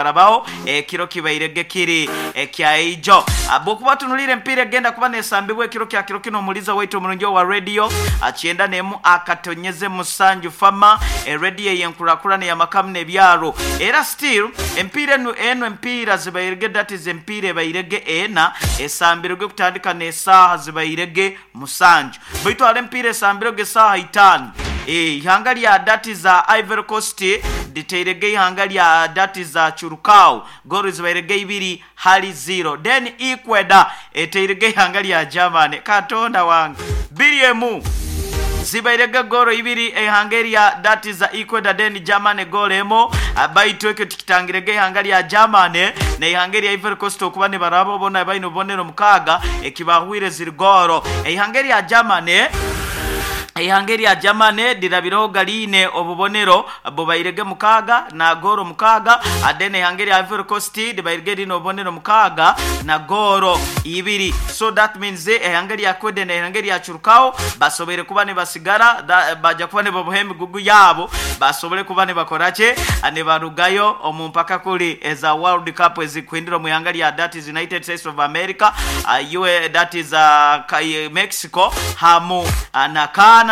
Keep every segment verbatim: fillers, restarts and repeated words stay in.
Barabaho ekiro kibairege kiri ekyaijo. Bwokuba tunulire empiira egenda kuba nesambibwa ekiro kya kiro kino, omuliza waitu omurungi owa radio kyenda nemu akatonyeze musanju fama, eradio eyenkurakurana eyamakamu n'ebyaro. Era still empiira enu eno empiira zibairege, that is empiira ebairege ena esambirwe kutandika n'esaaha zibairege musanju, baitu hali empiira esambirwege esaaha itaanu. Eihanga lya that is Ivory Coast liteirege eihanga lya that is Curacao goolo zibairege ibiri hali ziro. Then Ecuador eteirege eihanga lya Germany, Katonda wange, biri emu zibairege goolo ibiri eihanga erya that is Ecuador, then Germany goolo emu. Baitu ekyo tikitangirege eihanga lya Germany n'eihanga erya Ivory Coast okuba nibaraba bona baine obubonero mukaaga ekibahwire ziri goolo. Eihanga erya Germany eihanga erya Germany lirabiregho galiine obubonero bubairege mukaaga na goolo mukaaga, then eihanga erya Ivory Coast libairege liine obubonero mukaaga na goolo ibiri. So that means eihanga erya Ecuador n'eihanga erya Curacao basoboire kuba nibasigara, baja kuba nibaboha emigugu yaabo basobole kuba nibakora ki, nibarugayo omu mpaka kuli eza World Cup ezikuhindira omu ihanga lya that is United States of America, that is Mexico hamu na Canada.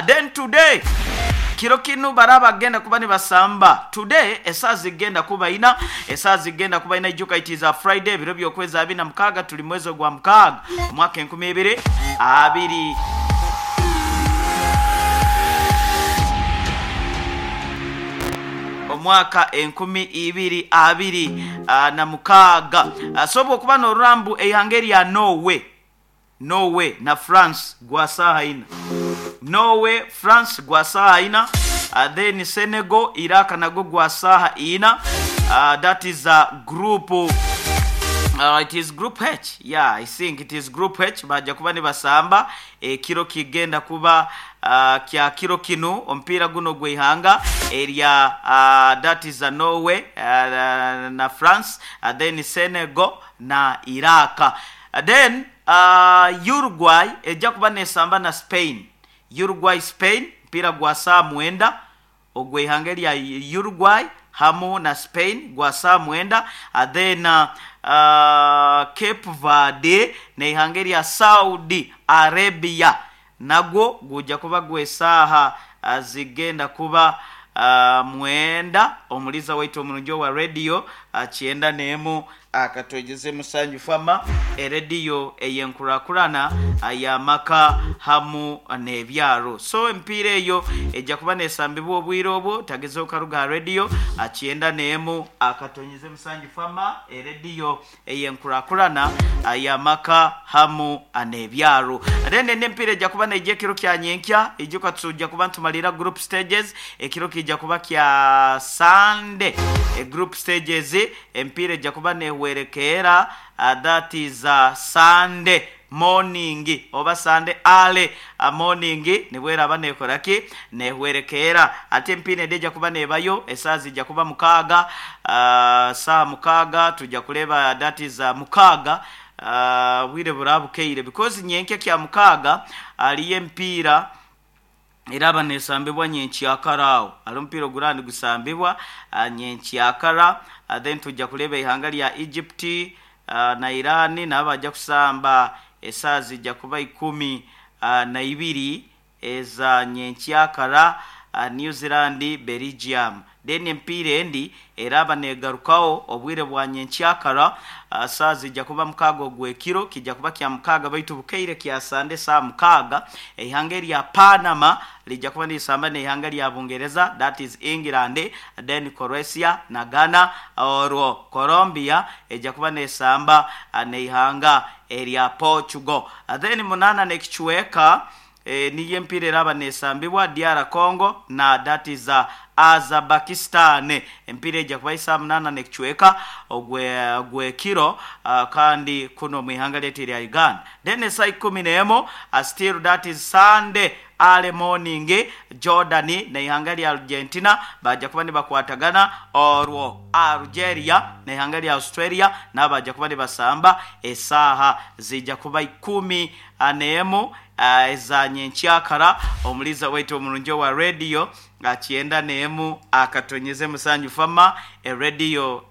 Then today kiro kinu baraba bagenda kuba nibasamba today esaaha zigenda kuba ina, esaaha zigenda kuba ina. Ijuka it is a Friday, ebiro by'okwezi abiri na mukaaga, tuli mwezi ogwa mukaaga omwaka enkumi ibiri abiri omwaka enkumi ibiri abiri na mukaaga. So bwokuba n'orurambu eihanga erya Norway, Norway na France gwa saaha ina, Norway France gwa saaha ina, then Senegal Iraq nago gwa saaha ina. That is a group, uh, it is group H, yeah, I think it is group H. Baja kuba nibasamba ekiro kigenda kuba uh, kya kiro kinu omupiira guno ogw'eihanga erya uh, that is a Norway uh, na France, uh, then Senegal na Iraq. uh, then uh, Uruguay ejja kuba nesamba na Spain. Uruguay Spain mpira gwa saa mwenda ogw'eihanga erya Uruguay hamu na Spain gwa saa mwenda. uh, then uh, uh, Cape Verde n'eihanga erya Saudi Arabia nagwo gujja kuba gw'esaaha uh, zigenda kuba uh, mwenda. Omuliza waitu omurungi owa radio uh, kyenda n'emu akatwegeze musanju fama, erediyo eyenkurakurana y'amaka hamu n'ebyaro. So empiira eyo ejja kuba nesambibwa obwire obwo, tagezeho karuga ha rediyo kyenda n'emu akatonyeze musanju fama, erediyo eyenkurakurana y'amaka hamu n'ebyaro. Then n'empiira ejja kuba neija ekiro kya nyenkya, ijuka tujja kuba ntumalira group stages, ekiro kijja kuba kya Sunday. E group stages empiira ejja kuba nehwerekeera, uh, that is uh, Sunday morning oba Sunday early uh, morning nibweraba nekoraki nehwerekeera. Ate empiira edi ejja kuba nebayo esaaha zijja kuba mukaaga, uh, saaha mukaaga tujja kuleba, that is uh, mukaaga uh, bwire burabukeire, because nyenkya kya mukaaga aliyo empiira eraba nesambibwa nyenkyakara awo, ali omupiira oguraba nigusambibwa uh, nyenkyakara. uh, then tujja kuleba eihanga lya Egypt uh, na Iran nabo bajja kusamba esaaha zijja kuba ikumi uh, na ibiri eza nyenkyakara, uh, New Zealand Belgium. Then empiira endi eraba negarukaho obwire bwa nyenkyakara, uh, saaha zijja kuba mukaaga ogw'ekiro kijja kuba kya mukaaga baitu bukeire kya Sande saa mukaaga, eihanga erya Panama lijja kuba nirisamba n'eihanga lya Bungereza, that is England, then Croatia na Ghana. Olwo Colombia ejja kuba nesamba uh, n'eihanga erya Portugal. uh, then munana n'ekicweka e, niyo empiira eraba nesambibwa D R Congo na that is uh, Azerbaijan. Empiira ejja kuba isaa munana n'ekicweka ogw'ekiro uh, kandi kuno mu ihanga lyaitu erya Uganda. Then esaa ikumi n'emu uh, still that is Sunday early morning, Jordan n'eihanga lya Argentina bajja kuba nibakwatagana, olwo Algeria n'eihanga lya Australia nabo bajja kuba nibasamba esaaha zijja kuba ikumi n'emu eza nyenkyakara. Omuliza waitu omurungi owa radio kyenda n'emu akatonyeze musanju fama, erediyo.